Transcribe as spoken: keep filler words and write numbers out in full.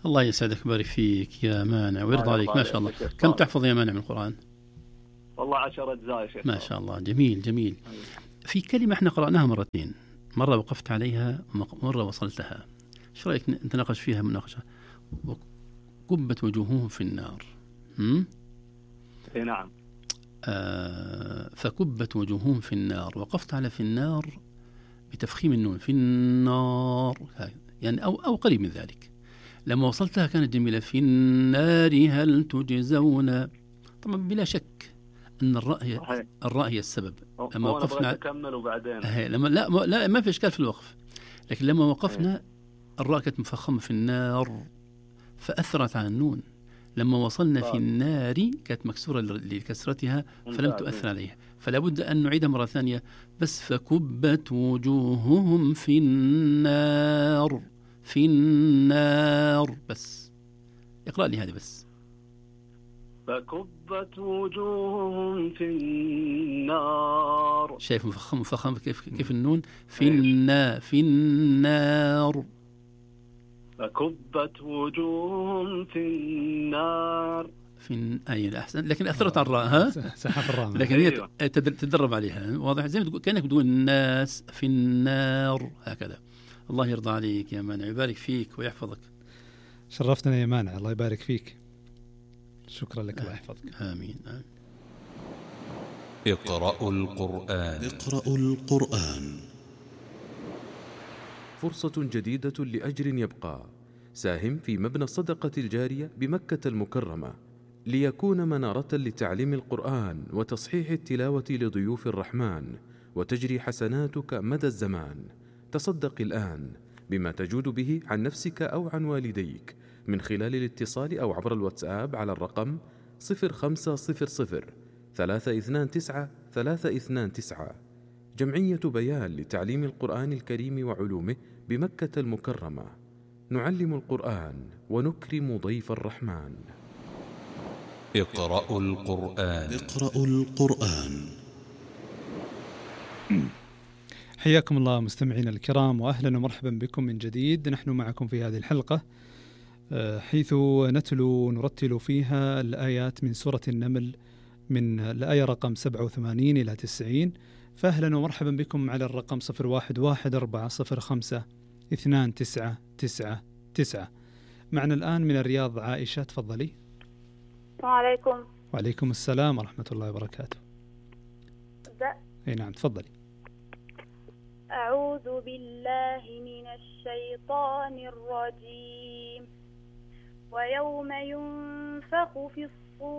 الله يسعدك ويبارك فيك يا مانع ويرضى عليك. ما شاء الله. كم تحفظ يا مانع من القرآن؟ والله عشر أجزاء يا شيخ. ما شاء الله. جميل جميل. في كلمة احنا قرأناها مرتين، مرة وقفت عليها ومرة وصلتها، ايش رأيك نتناقش فيها مناقشة؟ كبت وجوههم في النار. هم؟ اي نعم. آه فكبت وجوههم في النار، وقفت على في النار بتفخيم النون، في النار يعني أو, أو قريب من ذلك. لما وصلتها كانت جميلة، في النار هل تجزون. طبعا بلا شك أن الراء هي الراء هي السبب. لما وقفنا أكمل وبعدين لما لا ما, لا ما في إشكال في الوقف، لكن لما وقفنا الراء كانت مفخمة في النار فأثرت على النون. لما وصلنا في النار كانت مكسورة لكسرتها فلم تؤثر عليها، فلا بد أن نعيدها مرة ثانية. بس فكبت وجوههم في النار، في النار. بس اقرأ لي هذه بس. فكبت وجوههم في النار. شايف مفخم مفخم كيف كيف النون في النا في النار. فكبت وجوههم في النار. في أي أحسن، لكن أثرت على الراء. ها سحب الراء، لكن هي تدرب عليها. واضح زي ما تقول كأنك تقول الناس في النار هكذا. الله يرضى عليك يا مانع، يبارك فيك ويحفظك. شرفتنا يا مانع، الله يبارك فيك. شكرا لك، الله يحفظك. آمين, آمين. اقرأوا القرآن. اقرأوا القرآن. فرصة جديدة لأجر يبقى. ساهم في مبنى الصدقة الجارية بمكة المكرمة ليكون منارة لتعليم القرآن وتصحيح التلاوة لضيوف الرحمن، وتجري حسناتك مدى الزمان. تصدق الآن بما تجود به عن نفسك أو عن والديك من خلال الاتصال أو عبر الواتساب على الرقم صفر خمسة صفر صفر ثلاثة اثنان تسعة ثلاثة اثنان تسعة. جمعية بيان لتعليم القرآن الكريم وعلومه بمكة المكرمة. نعلم القرآن ونكرم ضيف الرحمن. اقرأوا القرآن. اقرأوا القرآن. حياكم الله مستمعينا الكرام، وأهلا ومرحبا بكم من جديد. نحن معكم في هذه الحلقة حيث نتلو نرتل فيها الآيات من سورة النمل من الآية رقم سبعة وثمانين إلى تسعين. فأهلا ومرحبا بكم على الرقم صفر واحد واحد أربعة صفر خمسة اثنان تسعة تسعة تسعة. معنا الآن من الرياض عائشة، تفضلي. السلام عليكم. وعليكم السلام ورحمة الله وبركاته. أبدأ؟ أي نعم تفضلي. أعوذ بالله من الشيطان الرجيم. ويوم ينفخ في